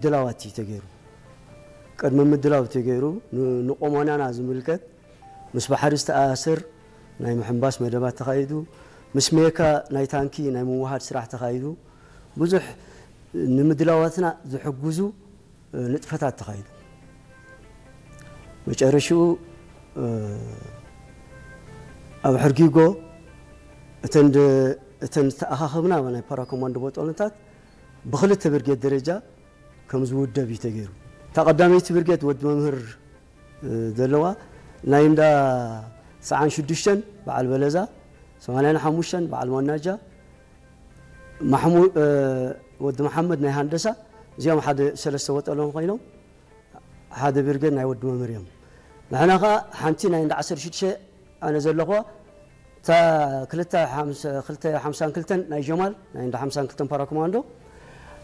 ምድላዋት እዩ ተገይሩ። ቅድሚ ምድላው ተገይሩ ን- ንቆሞናና ዝምልከት ምስ ባሕሪ ዝተኣሳሰር ናይ ምሕንባስ መደባት ተኻይዱ፣ ምስ ሜካ ናይ ታንኪ ናይ ምውሃድ ስራሕ ተኻይዱ፣ ብዙሕ ንምድላዋትና ዝሕግዙ ንጥፈታት ተኻይዱ። መጨረሽኡ ኣብ ሕርጊጎ እተን ደ- እተን ዝተኣኻኸብና ናይ ፓራኮማንዶ ቦጦሎንታት ብክልተ ብርጌድ ደረጃ ከም ዝውደብ እዩ ተገይሩ። እታ ቀዳመይቲ ብርጌድ ወዲ መምህር ዘለዋ ናይ እንዳ ሰዓን ሽዱሽተን በዓል በለዛ፣ ሰማንያን ሓሙሽተን በዓል ማናጃ፣ ማሕሙ- ወዲ መሓመድ ናይ ሃንደሳ፣ እዚኦም ሓደ ሰለስተ ወጠሎም ኮይኖም ሓደ ብርጌድ ናይ ወዲ መምህር እዮም። ንሕና ኸዓ ሓንቲ ናይ እንዳ ዓሰርተ ሽዱሽተ ኣነ ዘለኹዋ እታ ክልተ ሓምሳ- ክልተ ሓምሳን ክልተን ናይ ጀማል ናይ እንዳ ሓምሳን ክልተን ፓራኮማንዶ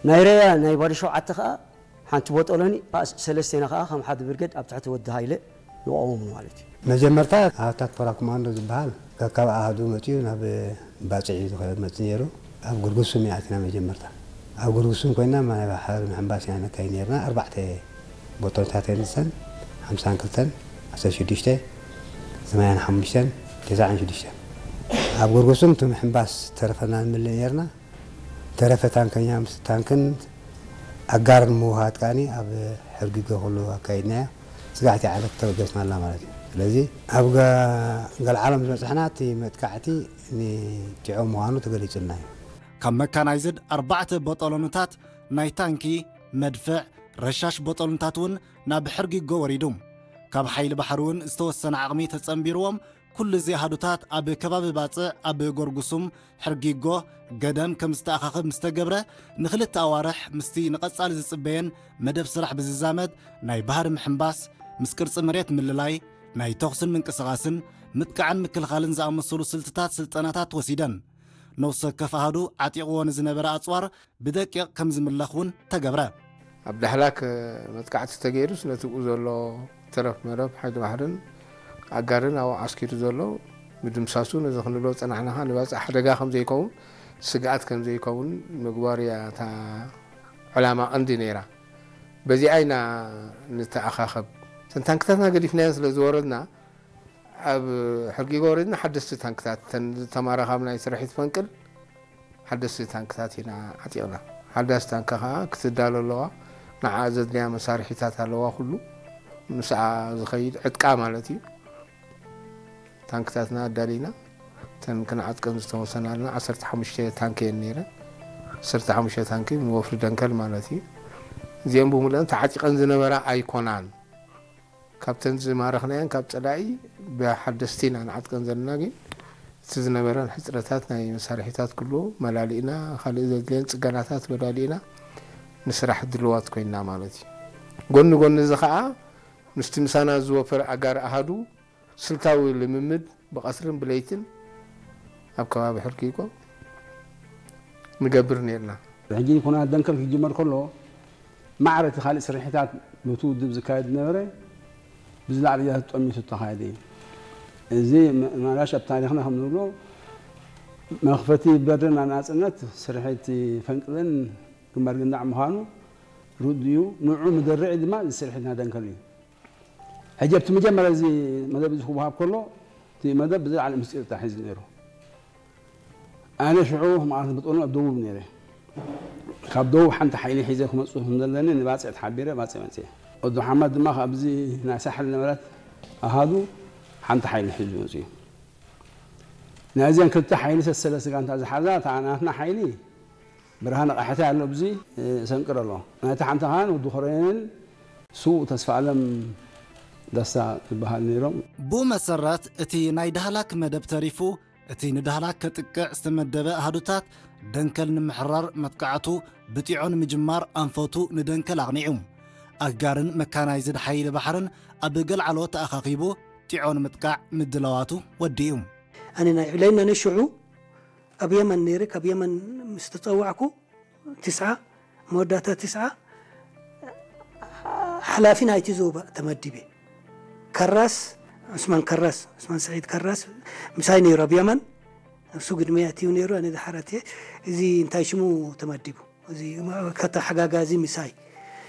ናይ ረያ ናይ ባዶ ሸውዓተ ኸዓ ሓንቲ ቦጦሎኒ ኣ- ሰለስቴና ኸዓ ከም ሓደ ብርጌድ ኣብ ትሕቲ ወዲ ሃይለ ንቆሞም ማለት እዩ። መጀመርታ ኣሃታት ፓራኮማንዶ ዝበሃል ካብ ኣሃዱ መፅዩ ናብ ባፅዕ እዩ ዝኸ- መፅእ ነይሩ። ኣብ ጉርጉሱም እያ ኣቲና መጀመርታ። ኣብ ጉርጉሱም ኮይና ናይ ባሕሪ ምሕንባስ ኢና ነካይድ ነርና። ኣርባዕተ ቦጦሎንታት ንሰን ሓምሳን ክልተን ዓሰርተ ሽዱሽተ ሰማንያን ሓሙሽተን ተስዓን ሽዱሽተን ኣብ ጉርጉሱም እቲ ምሕንባስ ተረፈና ንምልእ ነርና። ተረፈ ታንከኛ ምስ ታንክን ኣጋር ንምውሃድ ከዓኒ ኣብ ሕርጊጎ ኩሉ ኣካይድናዮ። ስጋሕቲ ዓለት ተበገስናላ ማለት እዩ። ስለዚ ኣብ ገ- ገልዓሎም ዝበፅሕና እቲ መጥቃዕቲ ንቲዖ ምዃኑ ተገሊጹልና እዩ። ካብ መካናይዝድ ኣርባዕተ ቦጦሎንታት ናይ ታንኪ፣ መድፍዕ፣ ረሻሽ ቦጦሎንታት እውን ናብ ሕርጊጎ ወሪዱ። ካብ ሓይሊ ባሕሪ እውን ዝተወሰነ ዓቕሚ ተጸንቢርዎም ኩሉ እዚ ኣሃዱታት ኣብ ከባቢ ባጽዕ ኣብ ጎርጉሱም ሕርጊጎ ገደም ከም ዝተኣኻኸብ ምስ ተገብረ ንኽልተ ኣዋርሕ ምስቲ ንቐጻሊ ዝጽበየን መደብ ስራሕ ብዝዛመድ ናይ ባህሪ ምሕንባስ ምስ ቅርጺ መሬት ምልላይ ናይ ተኹስን ምንቅስቓስን ምጥቃዕን ምክልኻልን ዝኣመሰሉ ስልትታት ስልጠናታት ወሲደን። ነፍሲ ወከፍ ኣሃዱ ዓጢቕዎ ንዝነበረ ኣጽዋር ብደቂቕ ከም ዝምለኽ እውን ተገብረ። ኣብ ዳህላክ መጥቃዕቲ ተገይሩስ ነቲ ብኡ ዘሎ ተረፍ መረፍ ሓይሊ ባሕርን ኣጋርን ኣብኡ ዓስኪሩ ዘሎ ምድምሳሱ ነዚ ክንብሎ ዝጸናሕና ኸኣ ንባጽዕ ሓደጋ ከም ዘይከውን ስግኣት ከም ዘይከውን ምግባር እያ እታ ዕላማ ቀንዲ ነይራ። በዚኣ ኢና ንተኣኻኸብ። እተን ታንክታትና ገዲፍናየን ስለ ዝወረድና ኣብ ሕርጊጎ ወሪድና ሓደስቲ ታንክታት እተን ዝተማረኻ ናይ ስርሒት ፈንቅል ሓደስቲ ታንክታት ኢና ዓጢቕና። ሓዳስ ታንካ ኸዓ ክትዳሎ ኣለዋ። ንዓ ዘድልያ መሳርሒታት ኣለዋ። ኩሉ ምስኣ ዝኸይድ ዕጥቃ ማለት እዩ። ታንክታትና ኣዳሊና እተን ክንዓጥቀን ዝተወሰናልና ዓሰርተ ሓሙሽተ ታንኪ እየን ነይረን። ዓሰርተ ሓሙሽተ ታንኪ ንወፍሪ ደንከል ማለት እዩ። እዚአን ብምሉአን ተዓጢቐን ዝነበራ ኣይኮናን። ካብተን ዝማረኽናየን ካብ ጸላኢ ብሓደስቲ ኢና ንዓጥቀን ዘለና፣ ግን እቲ ዝነበረን ሕጽረታት ናይ መሳርሒታት ኩሉ መላሊእና፣ ካልእ ዘድልየን ጽገናታት መላሊእና ንስራሕ ድልዋት ኮይንና ማለት እዩ። ጎኒ ጎኒ እዚ ኸኣ ምስቲ ምሳና ዝወፈር ኣጋር ኣሃዱ ስልታዊ ልምምድ ብቐትርን ብለይትን ኣብ ከባቢ ሕርጊጎ ንገብር ነርና። ሕጂ ኩናት ደንከል ክጅመር ከሎ ማዕረ እቲ ካልእ ስርሒታት በቲ ውድብ ዝካየድ ዝነበረ ብዝላዕሊ እያ ተጠሚቱ ዝተኻየደ እዩ። እዚ መ- ማራሽ ኣብ ታሪኽና ከም ንብሎ መኽፈቲ በርና ናጽነት ስርሒት ፈንቅልን ግንባር ግንዳዕ ምዃኑ ርዱእ እዩ። ንዑ ምድርዒ ድማ እዚ ስርሒትና ደንከል እዩ። ሕጂ ኣብቲ መጀመርያ እዚ መደብ እዚ ክወሃብ ከሎ እቲ መደብ ብዝለዓለ ምስጢር ተታሒዙ ነይሩ። ኣነ ሽዑ ማለት ብጦኑ ኣብ ደቡብ ነይረ። ካብ ደቡብ ሓንቲ ሓይሊ ሒዘ ክመፅእ ከም ዘለኒ ንባፅዕ ተሓቢረ ባፅዕ መፅየ። ወዲ ሓማድ ድማ ካብዚ ናይ ሳሕል ነበረት ኣሃዱ ሓንቲ ሓይሊ ሒዙ መፅዩ። ናይዚን ክልተ ሓይሊ ሰሰለ ስጋንታ ዝሓዛ እታ ናትና ሓይሊ ብርሃነ ቃሕታይ ኣሎ፣ ኣብዚ ሰንቅር ኣሎ። ናይቲ ሓንቲ ኻን ወዲ ኮረንን ስዉእ ተስፋ ኣለም ደስታ ዝበሃል ነይሮም። ብኡ መሰረት እቲ ናይ ዳህላክ መደብ ተሪፉ እቲ ንዳህላክ ከጥቅዕ ዝተመደበ ኣሃዱታት ደንከል ንምሕራር መጥቃዕቱ ብጢዖ ንምጅማር ኣንፈቱ ንደንከል ኣቕኒዑ። ኣጋርን መካናይዝድ ሓይሊ ባሕርን ኣብ ገልዓሎ ተኣኻኺቡ ጢዖ ንምጥቃዕ ምድላዋቱ ወዲኡ። ኣነ ናይ ዕብለይና ንሽዑ ኣብ የመን ነይረ። ካብ የመን ምስ ተጸዋዕኩ ትስዓ መወዳእታ ትስዓ ሓላፊ ናይቲ ዞባ ተመዲበ። ከራስ ዑስማን ከራስ ዑስማን ስዒድ ከራስ ምሳይ ነይሩ ኣብ የመን። እሱ ግድመይ ኣትዩ ነይሩ ኣነ ድሓር ኣትየ። እዚ እንታይ ሽሙ ተመዲቡ እዚ ከተሓጋጋዚ ምሳይ